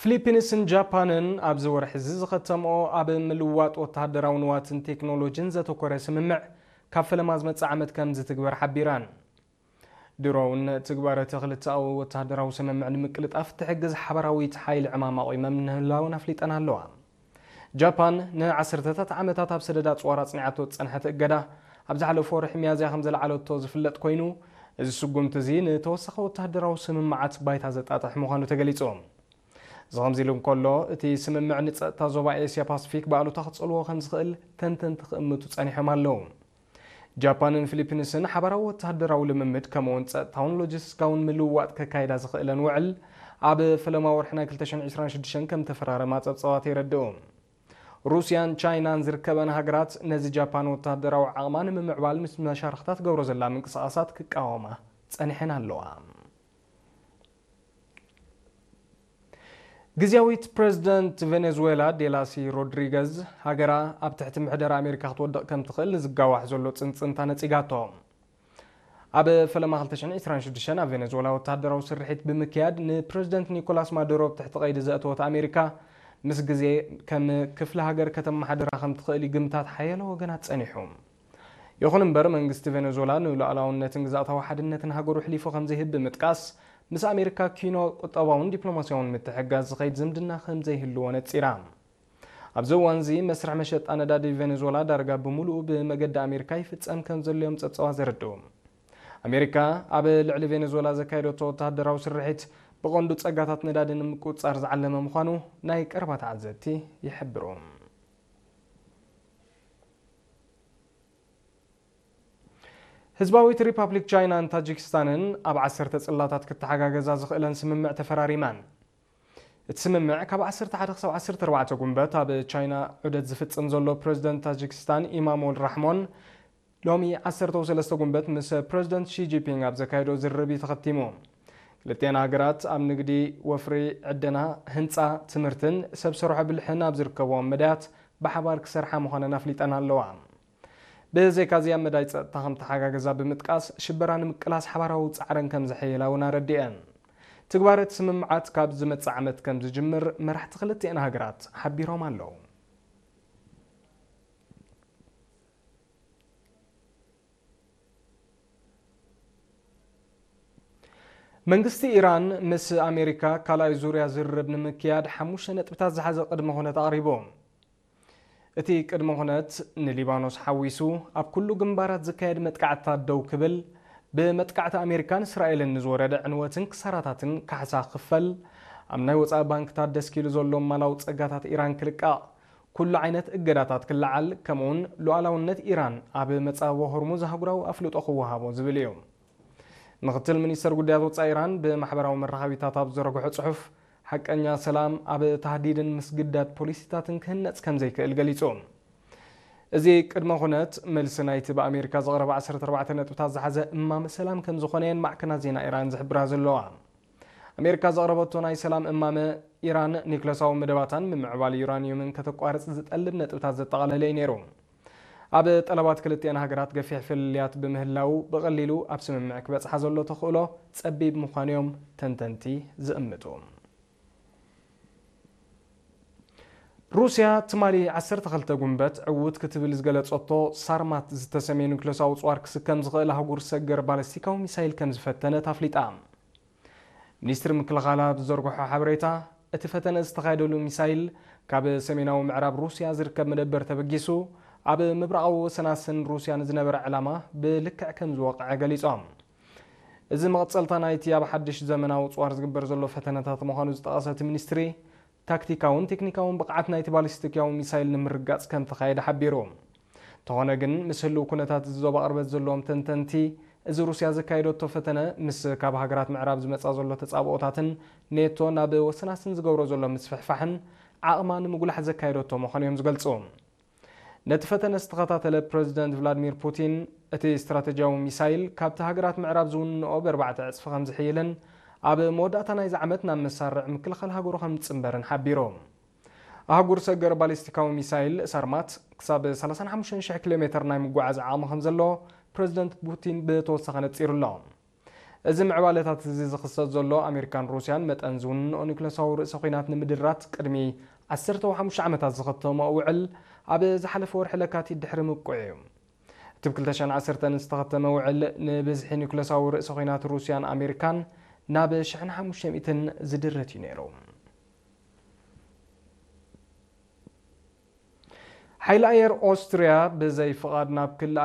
ፊሊፒንስን ጃፓንን ኣብዚ ወርሒ እዚ ዝኸተምኦ ኣብ ምልዋጥ ወተሃደራዊ ንዋትን ቴክኖሎጂን ዘተኮረ ስምምዕ ካብ ፈለማ ዝመጽእ ዓመት ከም ዝትግበር ሓቢረን። ድሮ እውን ትግባረ እቲ ክልተኣዊ ወተሃደራዊ ስምምዕ ንምቅልጣፍ ትሕግዝ ሓበራዊት ሓይሊ ዕማም ኣቑመን ምህላወን ኣፍሊጠን ኣለዋ። ጃፓን ንዓሰርተታት ዓመታት ኣብ ሰደድ ኣጽዋር ኣጽኒዓቶ ዝጸንሐት እገዳ፣ ኣብ ዝሓለፈ ወርሒ ሚያዝያ ከም ዘልዓለቶ ዝፍለጥ ኮይኑ፣ እዚ ስጉምቲ እዚ ንተወሳኺ ወተሃደራዊ ስምምዓት ባይታ ዘጣጥሕ ምዃኑ ተገሊጹ። እዚ ከምዚ ኢሉ እንከሎ፣ እቲ ስምምዕ ንጸጥታ ዞባ ኤስያ ፓሲፊክ ብኣሉታ ክጸልዎ ከም ዝኽእል ተንተንቲ ክእምቱ ጸኒሖም ኣለዉ። ጃፓንን ፊሊፒንስን ሓባራዊ ወተሃደራዊ ልምምድ ከምኡውን ጸጥታውን ሎጂስቲካውን ምልውዋጥ ከካይዳ ዝኽእለን ውዕል ኣብ ፈለማ ወርሒ ናይ ክልተ ሽሕን ዕስራን ሽዱሽተን ከም ተፈራረማ ጸብጻባት የረድኡ። ሩስያን ቻይናን ዝርከበን ሃገራት ነዚ ጃፓን ወተሃደራዊ ዓቕማ ንምምዕባል ምስ መሻርኽታ ትገብሮ ዘላ ምንቅስቓሳት ክቃወማ ጸኒሐን ኣለዋ። ግዝያዊት ፕሬዝደንት ቬኔዙዌላ ዴላሲ ሮድሪገዝ፣ ሃገራ ኣብ ትሕቲ ምሕደራ ኣሜሪካ ክትወድቕ ከም ትኽእል ንዝጋዋሕ ዘሎ ጽንጽንታ ነጺጋቶ። ኣብ ፈለማ ክልተ ሽሕን ዕስራን ሽዱሽተን ኣብ ቬኔዙዌላ ወተሃደራዊ ስርሒት ብምክያድ ንፕሬዝደንት ኒኮላስ ማዱሮ ኣብ ትሕቲ ቀይዲ ዘእተወት ኣሜሪካ፣ ምስ ግዜ ከም ክፍለ ሃገር ከተመሓድራ ከም ትኽእል ይግምታት ሓያሎ ወገናት ጸኒሑ። ይኹን እምበር፣ መንግስቲ ቬኔዙዌላ ንሉዓላውነትን ግዝኣታዊ ሓድነትን ሃገሩ ኣሕሊፉ ከም ዘይህብ ብምጥቃስ፣ ምስ ኣሜሪካ ኪኖ ቁጠባውን ዲፕሎማስያውን ምትሕግጋዝ ዝኸይድ ዝምድና ከም ዘይህልዎ ነጺራ። ኣብዚ እዋን እዚ፣ መስርሕ መሸጣ ነዳዲ ቬኔዙዌላ ዳርጋ ብምሉኡ ብመገዲ ኣሜሪካ ይፍጸም ከም ዘሎ እዮም ጸብጻባት ዘረድኡ። ኣሜሪካ ኣብ ልዕሊ ቬኔዙዌላ ዘካየደቶ ወተሃደራዊ ስርሒት፣ ብቐንዱ ጸጋታት ነዳዲ ንምቁጽጻር ዝዓለመ ምዃኑ ናይ ቀረባ ተዓዘብቲ ይሕብሩ። ህዝባዊት ሪፓብሊክ ቻይናን ታጂክስታንን ኣብ ዓሰርተ ጽላታት ክተሓጋገዛ ዝኽእለን ስምምዕ ተፈራሪመን። እቲ ስምምዕ፣ ካብ ዓሰርተ ሓደ ክሳብ ዓሰርተ ኣርባዕተ ጉንበት ኣብ ቻይና ዑደት ዝፍጽም ዘሎ ፕሬዝደንት ታጂክስታን ኢማሞል ራሕሞን፣ ሎሚ ዓሰርተ ሰለስተ ጉንበት ምስ ፕሬዝደንት ሺ ጂንፒንግ ኣብ ዘካየዶ ዝርርብ እዩ ተኸቲሙ። ክልቲኣን ሃገራት ኣብ ንግዲ፣ ወፍሪ፣ ዕደና፣ ህንጻ፣ ትምህርትን ሰብ ሰርሖ ብልሕን ኣብ ዝርከብዎም መዳያት ብሓባር ክሰርሓ ምዃነን ኣፍሊጠን ኣለዋ። ብዘይካዚ፣ ኣብ መዳይ ጸጥታ ከም ተሓጋገዛ ብምጥቃስ፣ ሽበራ ንምቅላስ ሓባራዊ ጻዕረን ከም ዘሐይላ እውን ኣረዲአን። ትግባረ እቲ ስምምዓት ካብ ዝመጽእ ዓመት ከም ዝጅምር መራሕቲ ክልቲኣን ሃገራት ሓቢሮም ኣለዉ። መንግስቲ ኢራን ምስ ኣሜሪካ ካልኣይ ዙርያ ዝርርብ ንምክያድ ሓሙሽተ ነጥብታት ዝሓዘ ቅድመ ኩነት ኣቕሪቡ። እቲ ቅድመ ኩነት ንሊባኖስ ሓዊሱ ኣብ ኩሉ ግንባራት ዝካየድ መጥቃዕትታት ደው ክብል፣ ብመጥቃዕቲ ኣሜሪካን እስራኤልን ንዝወረደ ዕንወትን ክሳራታትን ካሕሳ ክኽፈል፣ ኣብ ናይ ወጻኢ ባንክታት ደስኪሉ ዘሎ ማላዊ ጸጋታት ኢራን ክልቃቕ፣ ኩሉ ዓይነት እገዳታት ክለዓል፣ ከምኡውን ሉዓላውነት ኢራን ኣብ መጻብቦ ሆርሙዝ ኣህጉራዊ ኣፍልጦ ክወሃቦ ዝብል እዩ። ምኽትል ሚኒስተር ጉዳያት ወጻኢ ኢራን ብማሕበራዊ መራኸቢታት ኣብ ዝዘርግሖ ጽሑፍ፣ ሓቀኛ ሰላም ኣብ ታህዲድን ምስግዳድ ፖሊሲታትን ክህነጽ ከም ዘይክእል ገሊጹ። እዚ ቅድመ ኩነት፣ መልሲ ናይቲ ብኣሜሪካ ዝቐረበ ዓሰርተ ኣርባዕተ ነጥብታት ዝሓዘ እማመ ሰላም ከም ዝኾነ እየን ማዕከናት ዜና ኢራን ዝሕብራ ዘለዋ። ኣሜሪካ ዘቕረበቶ ናይ ሰላም እማመ፣ ኢራን ኒክለሳዊ መደባታን ምምዕባል ዩራኒየምን ከተቋርጽ ዝጠልብ ነጥብታት ዘጠቓለለ እዩ ነይሩ። ኣብ ጠለባት ክልቲኣን ሃገራት ገፊሕ ፍልልያት ብምህላው፣ ብቐሊሉ ኣብ ስምምዕ ክበጽሓ ዘሎ ተኽእሎ ጸቢብ ምዃኑ እዮም ተንተንቲ ዝእምቱ። ሩስያ ትማሊ ዓሰርተ ክልተ ጉንበት ዕዉት ክትብል ዝገለጸቶ ሳርማት ዝተሰምየ ኑክለሳዊ ጽዋር ክስከም ዝኽእል ኣህጉር ሰገር ባለስቲካዊ ሚሳይል ከም ዝፈተነት ኣፍሊጣ። ሚኒስትሪ ምክልኻላ ኣብ ዝዘርግሖ ሓበሬታ፣ እቲ ፈተነ ዝተኻየደሉ ሚሳይል ካብ ሰሜናዊ ምዕራብ ሩስያ ዝርከብ መደበር ተበጊሱ፣ ኣብ ምብራቓዊ ወሰናስን ሩስያ ንዝነበረ ዕላማ ብልክዕ ከም ዝወቕዐ ገሊጾም። እዚ መቐጸልታ ናይቲ ኣብ ሓድሽ ዘመናዊ ጽዋር ዝግበር ዘሎ ፈተነታት ምዃኑ ዝጠቐሰ እቲ ሚኒስትሪ፣ ታክቲካውን ቴክኒካውን ብቕዓት ናይቲ ባሊስቲካዊ ሚሳይል ንምርጋጽ ከም ተኻየደ ሓቢሩ። እንተኾነ ግን፣ ምስ ህልው ኩነታት እዚ ዞባ ቅርበት ዘለዎም ተንተንቲ፣ እዚ ሩስያ ዘካየደቶ ፈተነ ምስ ካብ ሃገራት ምዕራብ ዝመጻ ዘሎ ተጻብኦታትን ኔቶ ናብ ወሰናስን ዝገብሮ ዘሎ ምስፍሕፋሕን ዓቕማ ንምጉላሕ ዘካየደቶ ምዃኑ እዮም ዝገልጹ። ነቲ ፈተነ ዝተኸታተለ ፕረዚደንት ቭላድሚር ፑቲን፣ እቲ ስትራተጂያዊ ሚሳይል ካብቲ ሃገራት ምዕራብ ዝውንንኦ ብኣርባዕተ ዕጽፊ ከም ዝሕይልን ኣብ መወዳእታ ናይዚ ዓመት ናብ መሳርዕ ምክልኻል ሃገሩ ከም ዝጽንበርን ሓቢሩ። ኣህጉር ሰገር ባሊስቲካዊ ሚሳይል ሳርማት ክሳብ ሰላሳን ሓሙሽተን ሽሕ ኪሎ ሜተር ናይ ምጉዓዝ ዓቕሚ ከም ዘለዎ ፕረዚደንት ፑቲን ብተወሳኺ ነጺሩ ኣሎ። እዚ ምዕባለታት እዚ ዝኽሰት ዘሎ ኣሜሪካን ሩስያን መጠን ዝውንንኦ ኒውክለሳዊ ርእሰ ኹናት ንምድራት ቅድሚ ዓሰርተ ሓሙሽተ ዓመታት ዝኸተምኦ ውዕል ኣብ ዝሓለፈ ወርሒ ለካቲት ድሕሪ ምብቅዑ እዩ። እቲ ብ ክልተ ሽሕን ዓሰርተን ዝተኸተመ ውዕል ንብዝሒ ኒውክለሳዊ ርእሰ ኹናት ሩስያን ኣሜሪካን ናብ ሽሕን ሓሙሽተ ሚእትን ዝድርት እዩ ነይሩ። ሓይሊ ኣየር ኦስትርያ ብዘይ ፍቓድ ናብ ክሊ